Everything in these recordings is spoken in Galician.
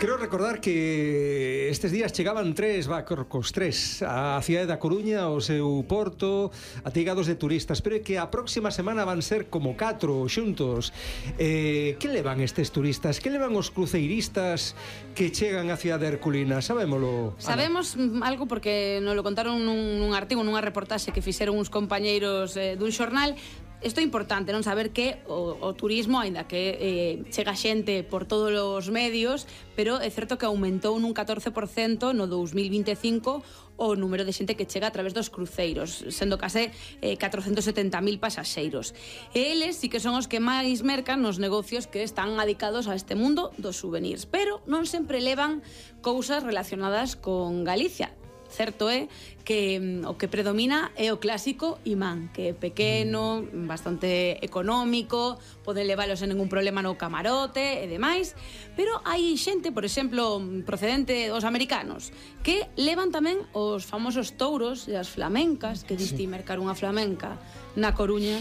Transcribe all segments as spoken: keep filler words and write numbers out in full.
Creo recordar que estes días chegaban tres barcos, tres, a cidade da Coruña, ao seu porto, atigados de turistas, pero é que a próxima semana van ser como catro xuntos. Eh, que levan estes turistas? Que levan os cruceiristas que chegan á cidade herculina? Sabémolo, Ana? Sabemos algo porque nos lo contaron nun, nun artigo, nunha reportaxe que fixeron uns compañeiros eh, dun xornal. Isto é importante, non saber que o, o turismo, aínda que eh, chega xente por todos os medios, pero é certo que aumentou nun catorce por cento no dos mil vinte e cinco o número de xente que chega a través dos cruceiros, sendo case eh, catrocentos e setenta mil pasaxeiros. E eles sí que son os que máis mercan nos negocios que están adicados a este mundo dos souvenirs, pero non sempre levan cousas relacionadas con Galicia. Certo é que mm, o que predomina é o clásico imán, que é pequeno, bastante económico, poden leválos sen ningún problema no camarote e demais, pero hai xente, por exemplo, procedente dos americanos, que levan tamén os famosos touros e as flamencas, que diste mercar unha flamenca na Coruña.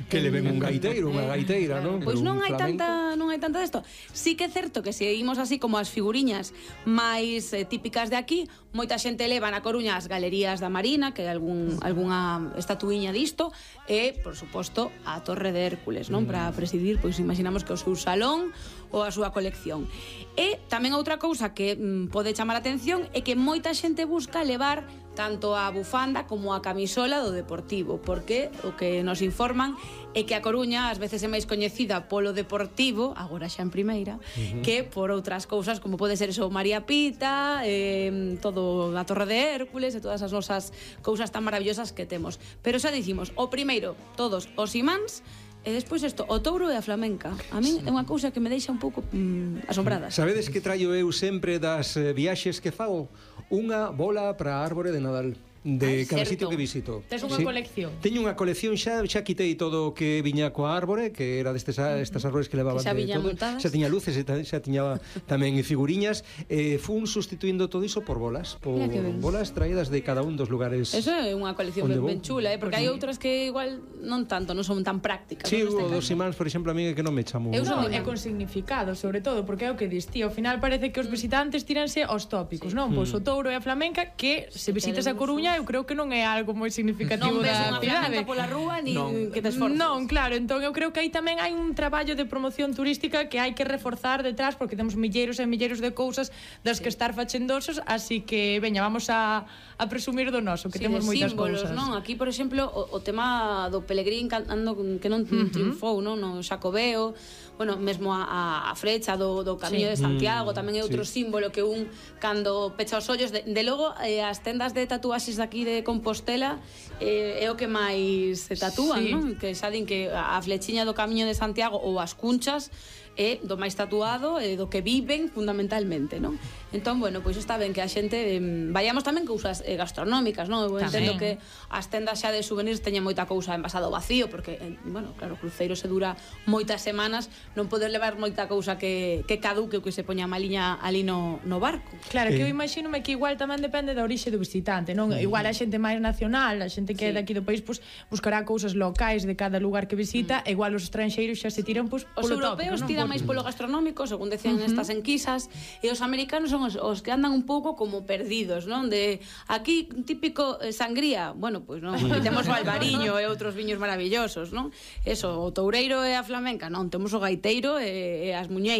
Que leven un gaiteiro, unha gaiteira, non? Pois non hai tanta, non hai tanta desto. Sí que é certo que se imos así como as figuriñas máis eh, típicas de aquí, moita xente leva na Coruña as galerías da Marina, que hai algún, algunha estatuíña disto, e, por suposto, a Torre de Hércules, non? Para presidir, pois imaginamos que o seu salón ou a súa colección. E tamén outra cousa que mm, pode chamar a atención é que moita xente busca levar tanto a bufanda como a camisola do Deportivo, porque o que nos informan é que a Coruña ás veces é máis coñecida polo Deportivo, agora xa en primeira, uh-huh. que por outras cousas como pode ser eso María Pita, eh, todo a Torre de Hércules e todas as nosas cousas tan maravillosas que temos. Pero xa dicimos, o primeiro, todos os imáns. E despois isto, o touro e a flamenca. A min é unha cousa que me deixa un pouco mm, asombrada. Sabedes que traio eu sempre das eh, viaxes que fago? Unha bola para a árbore de Nadal de Ay, cada certo. sitio que visito. Tes unha Sí. colección? Teño unha colección, xa xa quitei todo o que viña coa árbore, que era destes estas árbores que levaban Que xa de viñan todo. montadas. Xa tiña luces, e ta- xa tiña tamén figuriñas, eh, fun sustituindo todo iso por bolas, por Mira que ben. bolas traídas de cada un dos lugares. Eso é unha colección Onde ben, vou? ben chula, eh? Porque hai outras que igual non tanto, non son tan prácticas. Sí, non? o Neste dos caso. imáns, por exemplo, a mí é que non me chamo. Eu No, son é con significado, sobre todo, porque é o que dis ti. Ao final parece que os visitantes tíranse aos tópicos, non? Pois o touro e a flamenca, que se visitas a Coruña, eu creo que non é algo moi significativo Non ves da unha cidade. flamenca pola rúa ni Non. que te esforces. Non, claro, entón eu creo que aí tamén hai un traballo de promoción turística que hai que reforzar detrás, porque temos milleiros e milleiros de cousas das que estar fachendosos, así que, veña, vamos a, a presumir do noso, que Sí, temos de moitas símbolos, cousas. non? Aquí, por exemplo, o, o tema do Pelegrín cantando que non uh-huh. triunfou, non? No Xacobeo, bueno, mesmo a, a frecha do, do Camiño Sí. de Santiago, tamén é outro sí. símbolo que un, cando pecha os ollos, de, de logo, eh, as tendas de tatuaxes daqui de Compostela eh, é o que máis se tatúan, Sí. non? Que xa din que a flechiña do Camiño de Santiago ou as cunchas é do máis tatuado e do que viven fundamentalmente, non? Entón, bueno, pois está ben que a xente eh, vayamos tamén cousas eh, gastronómicas, non? Eu entendo que as tendas xa de souvenirs teñen moita cousa envasado vacío, porque, eh, bueno, claro, o cruceiro se dura moitas semanas, non poder levar moita cousa que, que caduque ou que se poña maliña ali no, no barco. Claro, que eu Eh. imagínome que igual tamén depende da orixe do visitante, non? Igual a xente máis nacional, a xente que é Sí. daqui do país, pois buscará cousas locais de cada lugar que visita, e igual os estranxeiros xa se tiran pois Os polo europeos tópico, non? tiran máis polo gastronómico, según decían uh -huh. estas enquisas, e os americanos son os, os que andan un pouco como perdidos, non? De aquí típico eh, sangría, bueno, pois non, aquí temos o albariño e outros viños maravillosos, non? Eso, o toureiro e a flamenca, non, temos o gaiteiro e, e as muñeiras.